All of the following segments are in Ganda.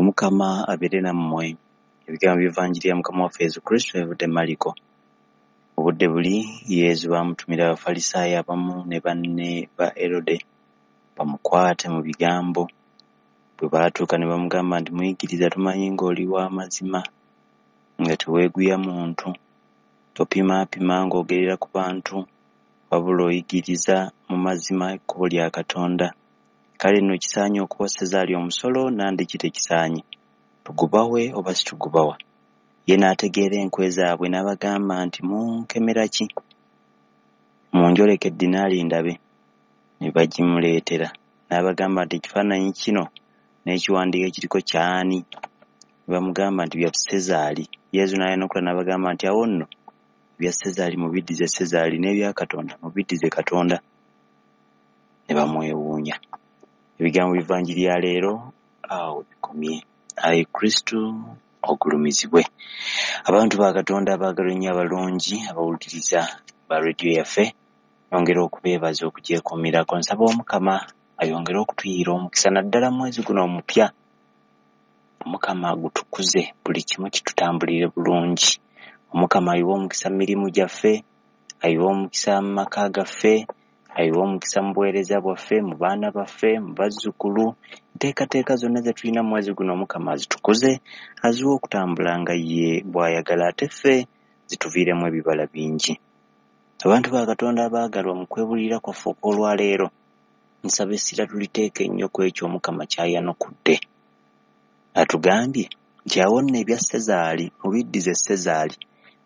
Omukama abeere nammwe. Ebigambo by'Evanjiri ya Mukama waffe Yesu Kristo ebivudde Mariko. Obudde buli Yesu baamutumira Abafalisaayo abamu ne banne ba Erode bamukwate mu bigambo. Bwe baatuuka ne bamugamba nti, Muyigiriza, tumanyi ng'oli wa mazima, nga teweeguya muntu, topimaapima ng'ogerera ku bantu, wabula oyigiriza mu mazima ekkubo lya Katonda. Kale nno kisaanye okuwa Sezaali omusolo nandiki tekisaanye? Tugubawe oba situgubawa? Ye n'ategeera enkwe zaabwe n'abagamba nti, Munkemera ki? Munjoleke eddinaali ndabe. Ne bagimuleetera. N'abagamba nti, Ekifaananyi kino n'ekiwandiiko ekiriko ky'ani? Ne bamugamba nti, Bya Sezaali. Yesu n'ayanukula n'abagamba nti, Awo nno ebya Sezaali mubiddize Sezaali n'ebya Katonda mubiddize Katonda. Ne bamwewuunya. Ebigambo by'Evanjiri ya leero awo bikomye. Ayi Kristo ogulumizibwe. Abantu ba Katonda abaagalwa ennyo abalungi abawuliriza ba rediyo yaffe, nyongera okubeebaza okugyekuumirako. Nsaba Omukama ayongere okutuyiira omukisa naddala mu mwezi guno omupya. Omukama agutukuze buli kimu kitutambulire bulungi. Omukama ayiwe omukisa mu mirimu gyaffe, ayiwe omukisa mu maka gaffe, ayiwe omukisa mu buweereza bwaffe, mu baana baffe, mu bazzukulu. Enteekateeka zonna ze tulina mu mwezi guno Omukama azitukuze, aziwe okutambula nga ye bw'ayagala ate ffe zituviiremu ebibala bingi. Abantu ba Katonda abaagalwa mu kwebulirira kwaffe okw'olwaleero, nsaba essira tuliteeke nnyo ku ekyo Omukama ky'ayanukudde. Atugambye nti awo nno ebya Sezaali mubiddize Sezaali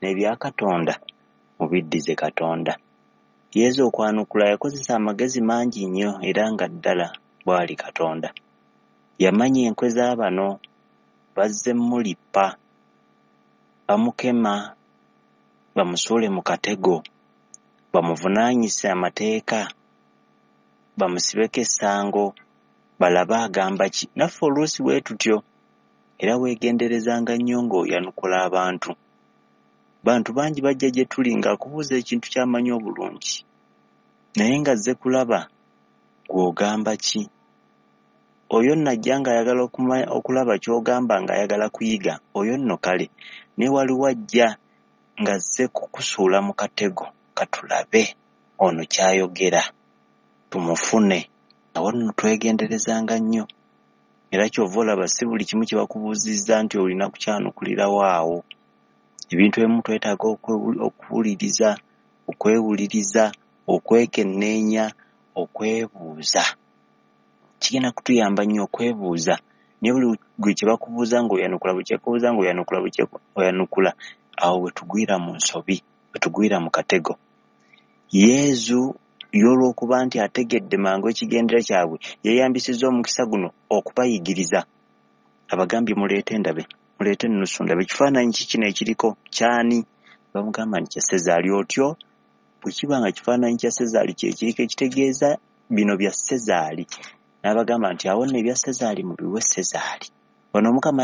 n'ebya Katonda mubiddize Katonda. Yesu okwanukula yakozesa amagezi mangi nnyo era nga ddala bw'ali Katonda. Yamanya enkwe za bano, bazze mmulippa, bamukema, bamusuule mu katego, bamuvunaanyise amateeka, bamusibeko essango, balabe agamba ki. Naffe oluusi bwe tutyo era weegenderezanga nnyo ng'oyanukula abantu. Bantu bangi bajja gye tuli ng'akubuuza ekintu ky'amanyi obulungi, naye ng'azze kulaba gw'ogamba ki. Oyo nno ajja ng'ayagala okulaba ky'ogamba ng'ayagala kuyiga, oyo nno kale. Naye waliwo ajja ng'azze kukusuula mu katego katulabe ono ky'ayogera tumufune. Awo nno twegenderezanga nnyo. Era ky'ova olaba si buli kimu kye bakubuuzizza nti olina kukyanukulirawo awo. Ebintu ebimu twetaaga okuwuliriza, okwewuliriza, okwekenneenya, okwebuuza. Kigenda kutuyamba nnyo okwebuuza. Naye buli gwe kye bakubuuza ng'oyanukula, buli kye bakubuuza ng'oyanukula, buli kye oyanukula, awo we tugwira mu nsobi, we tugwira mu katego. Yesu ye olw'okuba nti ategedde mangu ekigendera kyabwe, yeeyambisizza omukisa guno okubayigiriza. Abagambye muleete ndabe, muleete ennusu ndabe, ekifaananyi ki kino ekiriko ky'ani? Bamugamba nti kya Sezaali. Otyo bwe kiba nga kifaananyi kya Sezaali kye kiriko ekitegeeza bino bya Sezaali. N'abagamba nti awo nno ebya Sezaali mubiwe Sezaali. Wano Omukama